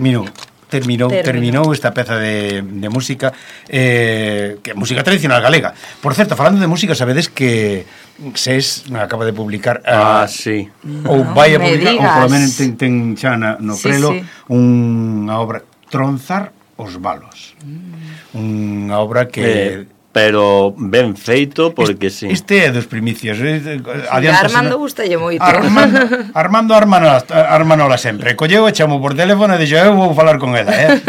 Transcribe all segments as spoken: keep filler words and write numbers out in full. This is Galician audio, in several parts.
Terminou. Terminou, terminou esta peza de, de música eh, que é música tradicional galega. Por certo, falando de música, sabedes que SES acaba de publicar a, ah, sí. ou vai a publicar, ou polo menos ten, ten xa na, no sí, prelo sí. unha obra, Tronzar os balos. Mm. Unha obra que... Eh. Pero ben feito, porque este, sí. Este é dos primicios. Armando gustalle moito. Armando, Armando Armanola, Armanola sempre. Colleu e chamou por teléfono e dixo, eu vou falar con ela, eh?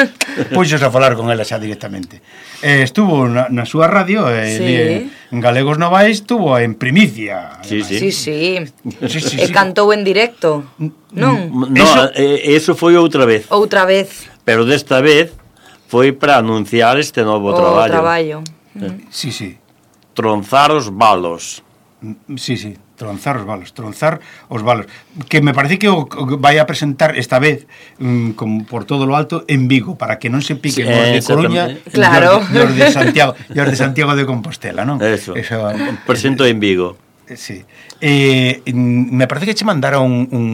Puxos a falar con ela xa directamente. Eh, estuvo na, na súa radio, eh, sí. en Galegos Novais, estuvo en primicia. Sí, sí. Sí, sí. sí, sí, e sí. cantou en directo. Non? No, eso, eh, eso foi outra vez. Outra vez. Pero desta vez foi para anunciar este novo o traballo. traballo. Mm. Sí, sí. Tronzar os balos. Sí, sí, tronzar os balos, tronzar os balos. Que me parece que o, o vai a presentar esta vez um, como por todo lo alto en Vigo, para que non se piquen sí, os de Coruña claro. e os de Santiago, e os de Santiago de Compostela, non? Eso, Eso presento en Vigo. Sí. Eh, me parece que che mandaron un, un,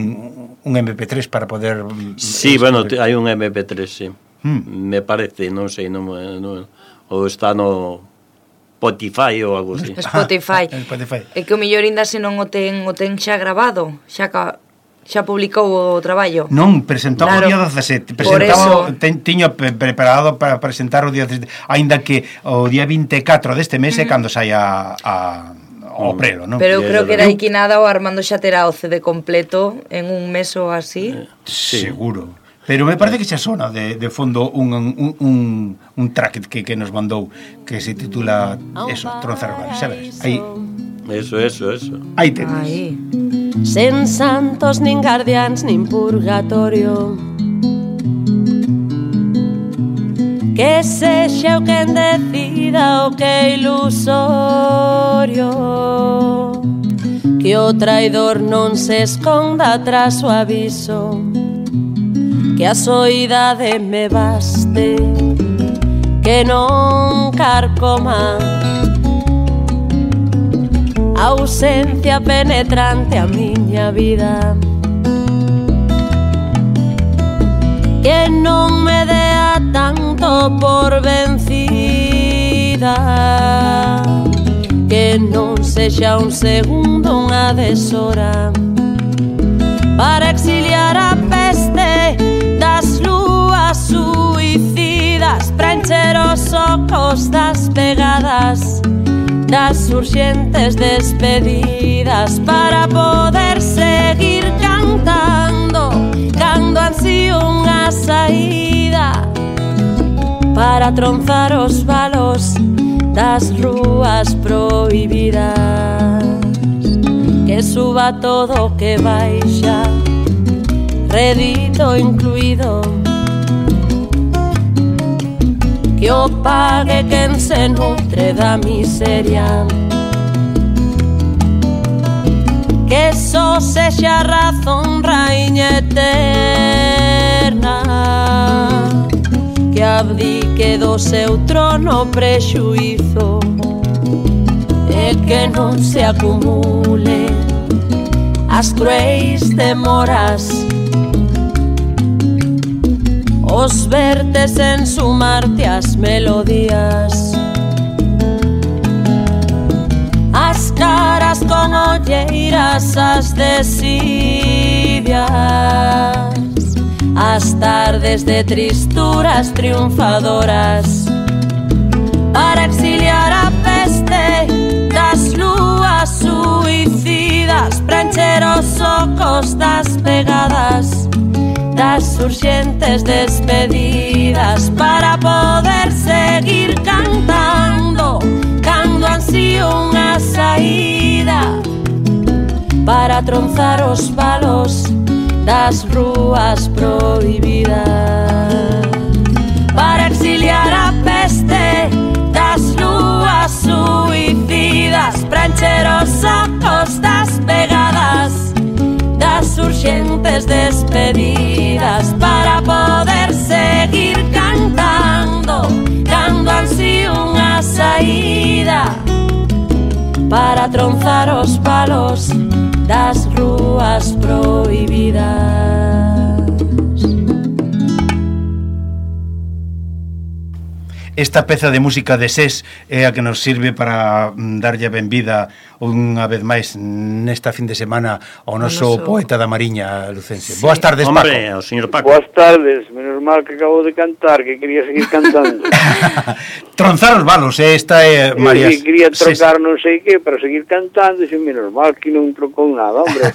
un eme pe tres para poder... Sí, bueno, hai un eme pe tres, sí. Hmm. Me parece, non sei, non, non, ou está no... Spotify ou algo así. Spotify. Spotify. É que o mellor ainda se non o ten, o ten xa grabado, xa ca, xa publicou o traballo. Non, presentaba claro. o día dezasete, presentaba ten, tiño pre preparado para presentar o día dezasete, aínda que o día vinte e catro deste mes é uh -huh. cando saia a o prelo, non? Pero eu creo que era aquí nada o Armando xa terá o C D completo en un mes ou así. Sí. Seguro. Pero me parece que xa sona de, de fondo un, un, un, un track que, que nos mandou que se titula eso, Tronzar os balos, sabes? Aí. Eso, eso, eso. Aí tenes. Aí. Sen santos, nin guardiáns, nin purgatorio, que sexa o quen decida o que é ilusorio, que o traidor non se esconda tras o aviso, que a soidade me baste, que non carcoma a ausencia penetrante a miña vida, que non me dea tanto por vencida, que non sexa un segundo unha deshora para exiliar a peste das lúas suicidas, para encher os ocos das pegadas, das urxentes despedidas, para poder seguir cantando cando ansío unha saída, para tronzar os balos das rúas prohibidas, que suba todo o que baixa, rédito incluído, que o pague quen se nutre da miseria, que só sexa razón raíña eterna, que abdique do seu trono prexuízo, e que non se acumule as cruéis demoras, os vertes en sumarte as melodías, as caras con olleiras, as desidias, as tardes de tristuras triunfadoras, para exiliar a peste das lúas suicidas, para encher os ocos das pegadas, das urxentes despedidas, para poder seguir cantando cando ansío unha saída, para tronzar os balos das rúas prohibidas, para exiliar a peste das lúas suicidas, para encher os ocos das pegadas, das urxentes despedidas, para poder seguir cantando cando ansío unha saída, para tronzar os palos das rúas prohibidas. esta peza de música de SES é a que nos sirve para mm, darlle a benvida unha vez máis nesta fin de semana ao noso noso... poeta da Mariña lucense. Sí. Boas tardes, Hombre, Paco. o señor Paco. Boas tardes, menos mal que acabo de cantar, que quería seguir cantando. Tronzar os balos, eh? Esta é María... Sí, quería trocar SES. non sei que para seguir cantando, e menos mal que non trocou nada, hombre.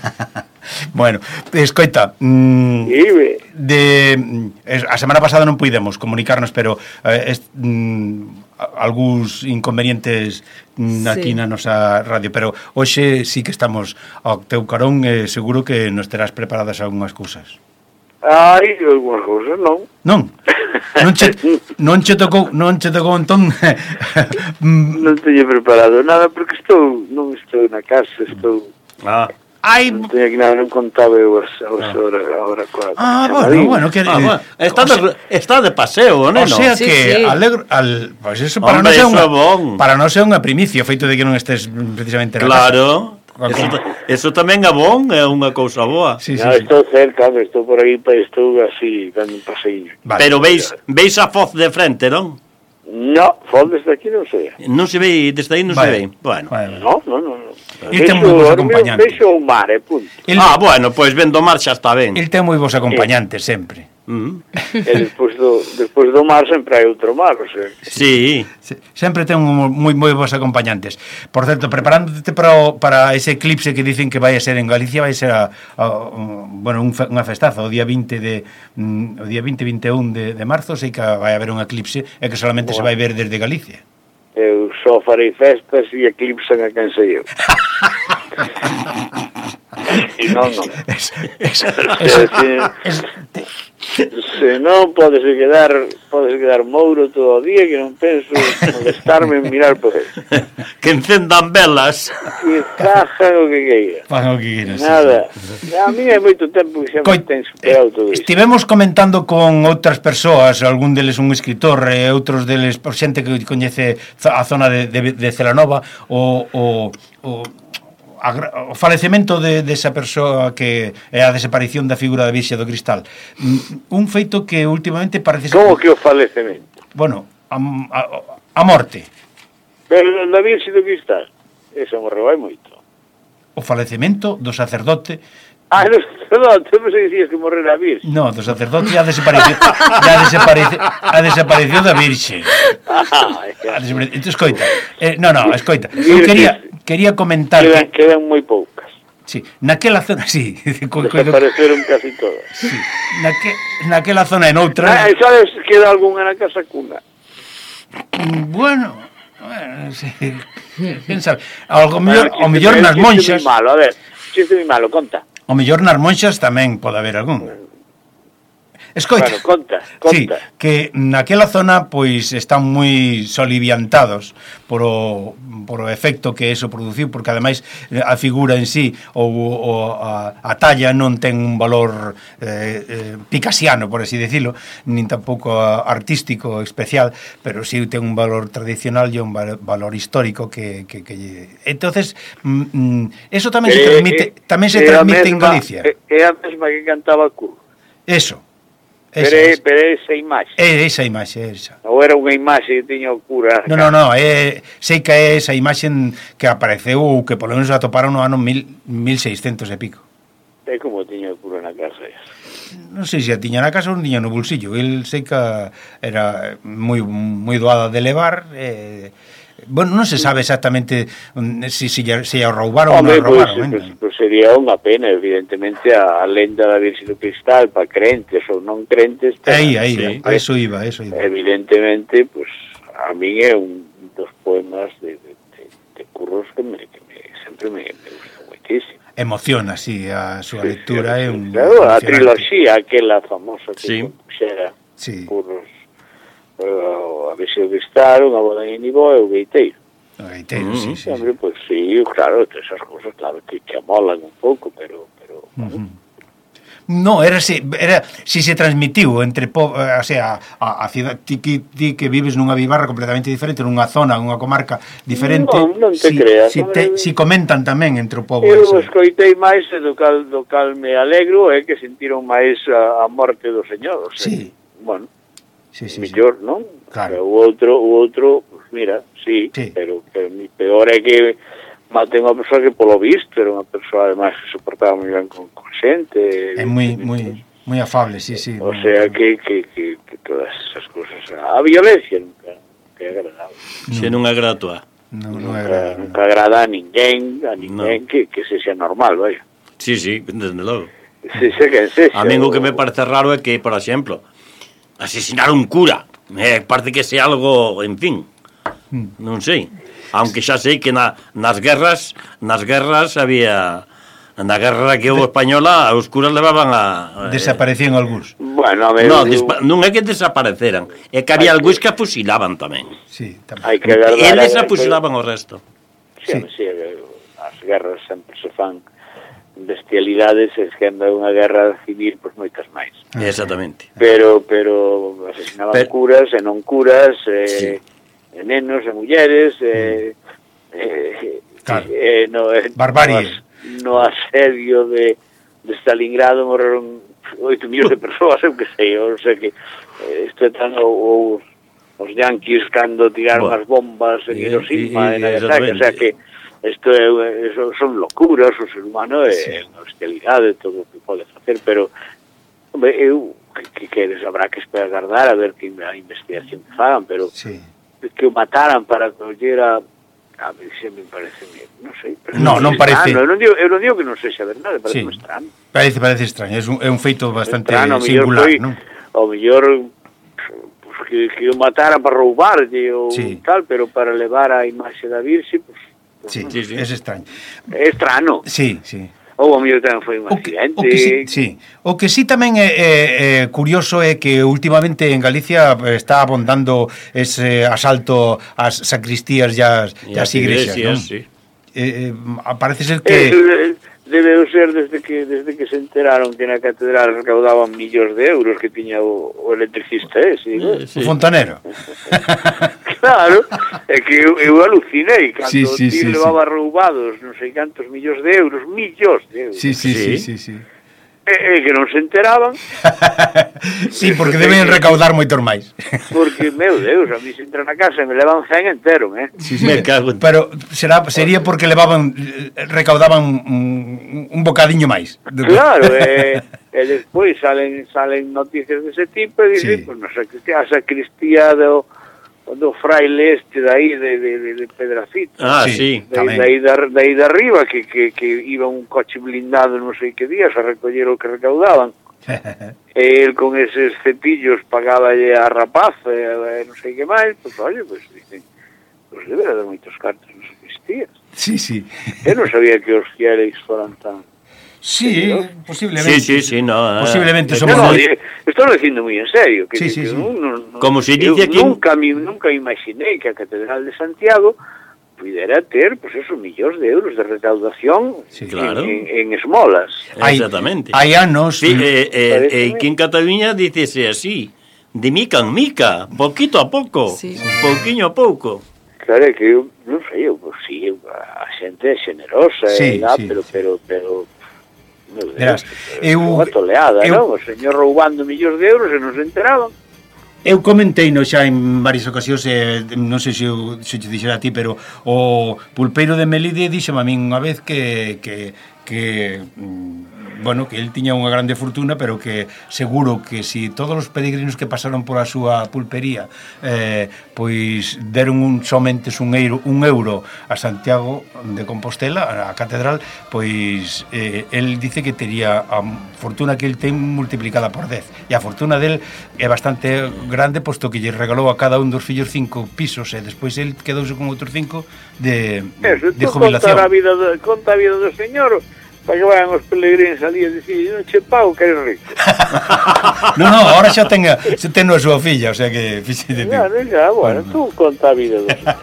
Bueno, escoita, mm, Ibe. de es, a semana pasada non puidemos comunicarnos, pero eh, es, mm, algúns inconvenientes mm, aquí Sí. na nosa radio, pero hoxe sí que estamos ao teu carón, eh, seguro que nos terás preparadas algunhas cousas. Ai, algunhas cousas non. Non? Non che, non che tocou, non che tocou entón mm, Non teño preparado nada porque estou, non estou na casa, estou... Ah, ai, Non teño aquí nada, non contaba eu as, as horas agora coa... ah, chamadín. bueno, bueno, que ah, bueno, está, o sea, de, está de paseo, O neno. sea Sí, que sí. alegro al, pues eso para Hombre, non ser eso unha é bon. para non ser unha primicia, o feito de que non estés precisamente na casa. Claro, eso, eso tamén é bon, é unha cousa boa. Sí, sí, No, sí. estou cerca, hombre, estou por aí, estou así, dando un paseíño. Vale. Pero veis, veis a foz de frente, non? No, fondes de aquí non sei. Non se ve, desde aí non se ve. Vale. Bueno. Vale, vale. No, no, no. no. Il ten moi bons Vexo- acompañantes. Vexo o mar, eh, punto. El, Ah, bueno, pois pues vendo mar xa está ben. el ten moi bons acompañantes sempre. Mm. E despois do, despois do mar sempre hai outro mar, o sea. Sí. Se- Sempre ten un moi moi bons acompañantes. Por certo, preparándote para o, para ese eclipse que dicen que vai a ser en Galicia, vai ser a, a, un, bueno, un, fe- unha festaza o día vinte de mm, o día vinte vinte e un de, de marzo, sei que vai haber un eclipse e que solamente se vai ver desde Galicia. Eu só farei festas e eclipsan a quen sei eu. E non, non. Es, es, Se, es, se non podese quedar podese quedar mouro todo o día que non penso molestarme en mirar por ele. Que encendan velas. Que cajan o que queira. Fan o que queiras, sí, Nada. A mí é moito tempo que xa me Coi- ten superado todo isto. Estivemos comentando con outras persoas, algún deles un escritor e outros deles por xente que coñece a zona de, de, de Celanova o, o, o, a, gra- o falecemento de, desa persoa que é a desaparición da figura da Virxe do Cristal. Mm, Un feito que últimamente parece ser... Como que o falecemento? Bueno, a, a, a morte. Pero na Virxe do Cristal, eso morreu hai moito. O falecemento do sacerdote. Ah, no, no, tú me dicías que morreu a Virxe. No, do sacerdote ya desapareció, ya desaparece, a desapareció da Virxe. Ah, A desapare- Entón, escoita, eh, no, no, escoita, eu quería, quería comentar quedan, que, quedan moi poucas. sí, naquela zona, sí, co, co, Desapareceron casi todas. sí, naque, naquela zona en Ah, outra, e sabes, queda algunha na casa cuna. mm, bueno, bueno, sí, quen sabe, algo mellor, ao mellor nas monxas, Chiste moi malo, a ver, chiste moi malo, conta. ao mellor nas monxas tamén pode haber algún. Escoita, Bueno, conta, sí, conta. que naquela zona pois están moi soliviantados por o, por o efecto que eso produciu, porque ademais eh, a figura en sí ou, ou a, a talla non ten un valor eh, eh, picasiano, por así decirlo, nin tampouco a- artístico especial, pero sí ten un valor tradicional e un val- valor histórico que, que, que lle- entonces mm, mm, eso tamén se Eh, transmite eh, tamén se é a transmite en mesma- Galicia. É, é a mesma que cantaba Curro. Eso. Pero, Esa, é, esa. pero é esa imaxe. É esa imaxe, é esa. Ou era unha imaxe que tiña o cura. No, no, no, é, sei que é esa imaxe que apareceu ou que polo menos atoparon no ano mil, mil seiscentos e pico. É como tiña o cura na casa. Non sei se a tiña na casa ou non tiña no bolsillo. El sei que era moi moi doada de levar. Eh, bueno, non se sabe exactamente mm, se si, si, si a roubaron ou non Home, a pois, roubaron. pues, eh. pues sería unha pena, evidentemente, a, a lenda da Virxe do Cristal para crentes ou non crentes. Aí, aí, Sí. a eso iba, a eso iba. Evidentemente, pues a min é un dos poemas de, de, de, de Curros que, me, que me, sempre me, me gusta moitísimo. Emociona, sí, a súa lectura é un... Claro, a emocionante. triloxía, aquela famosa que Sí. compuxera Sí. Curros, uh, a Virxe do Cristal, unha boda en Nibó e o Gaiteiro. O gaiteiro, Mm, sí, sí, sí. Hombre, pues sí, claro, esas cosas, claro, que, que amolan un pouco, pero... pero Ujú. No, era si, era si se transmitiu entre po, eh, o sea, a, a cidade ti, ti, ti que vives nunha vivarra completamente diferente, nunha zona, nunha comarca diferente. Non, non te si, creas, Si, non te, é- si comentan tamén entre o povo Eu ese. escoitei máis e do cal, do cal me alegro é que sentiron máis a, a morte do Señor, o sea, Sí. bueno, sí, sí, mellor, non? Claro. O outro, o outro, pues mira, sí, Sí. pero, pero mi peor é que mate unha persoa que polo visto era unha persoa además que soportaba moi ben con, con xente. É moi moi moi afable, sí, sí. O moi sea afable. que, que, que, que todas esas cosas, a violencia nunca, nunca é agradable. Se non é gratua. Non, non é Nunca, agradable, nunca agrada a ninguén, a ninguén No. que, que se sea normal, vaya. Sí, sí, desde logo. Se sea quen sexa. A mí o que o- me parece raro é que, por exemplo, asesinar un cura. Me parece que sea algo, en fin, non sei. Aunque xa sei que na, nas guerras, nas guerras había... Na guerra que houve española, os curas levaban a... Desaparecían algúns. Bueno, a ver, No, eu- despa, non é que desapareceran, é que había Hai algúns que- que afusilaban tamén. Sí, tamén. hai que agardar. Eles a ver, afusilaban o resto. Sí, Sí. sí, as guerras sempre se fan bestialidades, e que anda unha guerra civil, pois moitas máis. Ah, Exactamente. Pero pero asesinaban Pero- curas e non curas, eh, Sí. e nenos e mulleres, eh, eh, Claro. eh, no, eh, Barbarie. no, as- no asedio de, de Stalingrado morreron oito millóns de persoas, eu que sei, ou sei que eh, isto é tan o, o, os yanquis cando tiraron Bueno. as bombas en E- Hiroshima e- e Nagasaki, o sea exactamente. que isto é, eso son locuras, o ser humano é Sí. unha hostilidade, todo o que pode facer, pero hombre, eu que, que queres, habrá que esperar agardar a ver que a investigación que fagan, pero Sí. que o mataran para coller a a mí se me parece, non sei, pero No, non parece. estrano. Eu non digo, eu non digo que non sexa verdade, parece Sí. sí. estrano. Parece, parece extraño, é un, é un feito bastante Estrano, ao mellor singular, foi, non? ao mellor pues, que, que o matara para roubarlle ou Sí. tal, pero para levar a imaxe da Virxe, pues, pues Sí, non. Sí, sí. é extraño. É estrano. Sí, sí. Ou ao mellor tamén foi un O que, accidente. o que sí, sí. O que sí tamén é, é, é curioso é que últimamente en Galicia está abondando ese asalto ás sacristías e ás, e ás igrexas, non? sí. Eh, eh, parece ser Que... que... Debe ser desde que desde que se enteraron que na catedral recaudaban millóns de euros que tiña o, o electricista ese, digo. Eh, sí. O fontanero. Claro, é que eu, eu alucinei cando Sí, sí, sí, sí, sí, levaba sí. roubados non sei cantos millóns de euros, millóns de euros. Sí, sí, sí, Sí. sí, sí. E, e que non se enteraban, Sí, porque deben recaudar moitos máis. porque, meu Deus, a mí se entra na casa e me levan cen entero, eh? Sí, sí. Me cago en- Pero será sería porque levaban eh, recaudaban un, un bocadiño máis. Claro, e, e despois salen salen noticias dese tipo e Sí. dicen, pues, no sacristía, a sacristía do, do fraile este de aí de, de, de, de Pedrafita. Ah, Sí. sí. De, Tamén. de, aí de, de aí de arriba que, que, que iba un coche blindado non sei que días a recoller o que recaudaban e el con eses cepillos pagaballe a rapaz e, e non sei que máis, pois oye, pois dicen, pois debe dar moitos cartos non sacristía. Sí, sí. Eu non sabía que os fieles foran tan... Sí, posiblemente. Sí, sí, sí, no. eh. Posiblemente Eh, somos No, no, moi- di- estou dicindo moi en serio, que, Sí, sí, que sí. non- non- non- Como se eu dice aquí- nunca me, nunca imaginei que a Catedral de Santiago pudera ter, pois, pues, esos millóns de euros de recaudación Sí, claro. en, en, en esmolas. Hai- Exactamente. Hai anos. Sí, eh, eh, Paréceme. eh, aquí en Cataluña dícese así, de mica en mica, poquito a pouco, Sí. pouquiño a pouco. Claro, é que eu, non sei, eu, pues, sí, eu, a xente é generosa, Sí, e dá, sí, pero, sí. pero, pero, meu Verás, Deus, eu- unha toleada, eu- non? O señor roubando millóns de euros e non se enteraban. Eu comentei no xa en varias ocasións, eh, non sei se eu, se te dixera a ti, pero o pulpeiro de Melide díxome a min unha vez que, que, que mm, bueno, que el tiña unha grande fortuna, pero que seguro que si todos os peregrinos que pasaron pola súa pulpería eh, pois deron un somente un euro, un euro a Santiago de Compostela, a catedral, pois eh, el dice que tería a fortuna que el ten multiplicada por dez, e a fortuna del é bastante grande, posto que lle regalou a cada un dos fillos cinco pisos, e despois el quedouse con outros cinco de, Eso, de tú conta jubilación. a vida do, conta a vida do señor para que vayan os peregrinos ali e dicir, non che pago que eres rico. No, no, ahora xa ten a, xa ten a súa filla, o sea que fíxate ti. Claro, xa, bueno, tú conta a vida do señor.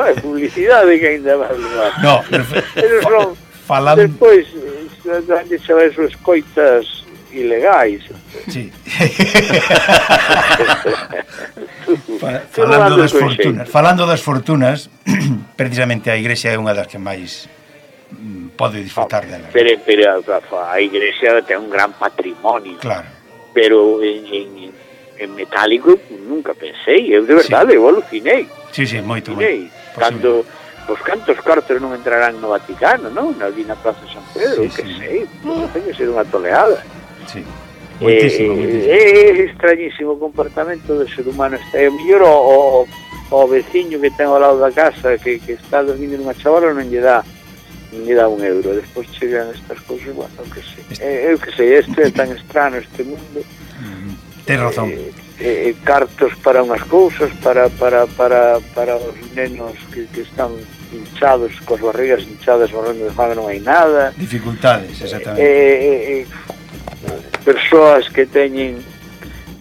Hai publicidade que ainda vai levar. No, pero, Eles son, falando, despois, danlle sabes as coitas ilegais. sí. Fa- Tú falando andas das con fortunas, xeito. falando das fortunas, precisamente a igrexa é unha das que máis mm, pode disfrutar dela. Pero, pero a igrexa ten un gran patrimonio. Claro. Pero en, en, en metálico nunca pensei, eu de verdade, sí. eu alucinei. Sí, sí, moito, alucinei. Moito. Cando os cantos cartos non entrarán no Vaticano, non? Ali na Praza de San Pedro, sí, que sí. sei, non ten que ser unha toleada. Sí. Moitísimo, eh, moitísimo. É extrañísimo o comportamento do ser humano. É mellor o, o, o veciño que ten ao lado da casa que, que está dormindo nunha chavala non lle dá non lle dá un euro. Despois chegan estas cousas, bueno, eu que sei. Este... Eu que sei, este é tan extraño este mundo. Ten razón. Eh, eh, cartos para unhas cousas, para, para, para, para os nenos que, que están hinchados, cos barrigas hinchadas, morrendo de fame, non hai nada. Dificultades, exactamente. Eh, eh, persoas que teñen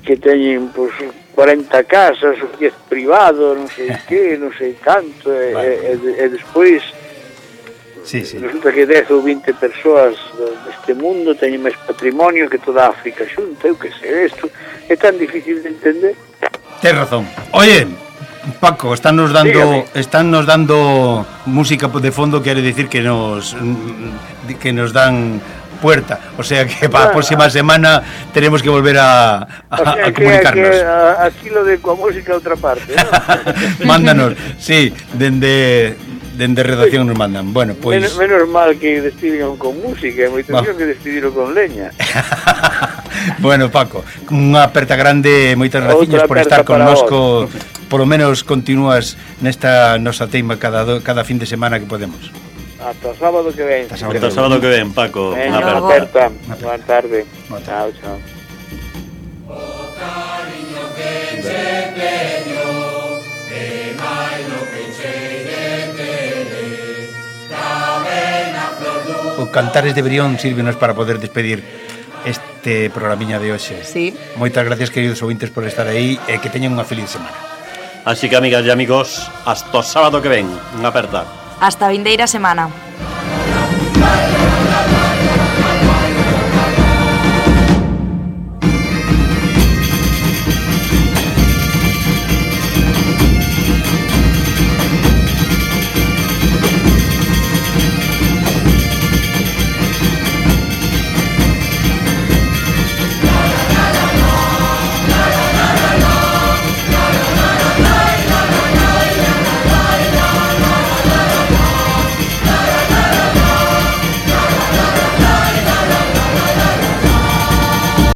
que teñen pues, cuarenta casas, o diez privado, non sei que, non sei canto, e, vale. e, e, e despois sí, sí. resulta que dez ou vinte persoas deste mundo teñen máis patrimonio que toda África xunta, eu que sei, isto é tan difícil de entender. Tens razón. Oye, Paco, están nos dando están nos dando música de fondo, quere decir que nos que nos dan puerta, o sea que para a próxima semana tenemos que volver a, a, o sea, a comunicarnos. Que, que, a, aquí lo de coa música a outra parte, ¿no? Mándanos, sí, dende dende redacción nos mandan. Bueno, pois pues... menos, menos mal que despediron con música, moito mellor que despediron con leña. Bueno, Paco, unha aperta grande, moitas graciñas por estar connosco. Por lo menos continúas nesta nosa teima cada do, cada fin de semana que podemos. Hasta o sábado que ven. Hasta o sábado que ven, Paco. Unha aperta. Boa tarde. Chao, chao. O cariño que che teño, que máis lo que che de O Cantares de Brión sírvenos para poder despedir este programiña de hoxe. Sí. Moitas gracias, queridos ouvintes, por estar aí e que teñan unha feliz semana. Así que, amigas e amigos, hasta o sábado que ven. Unha aperta. Hasta a vindeira semana.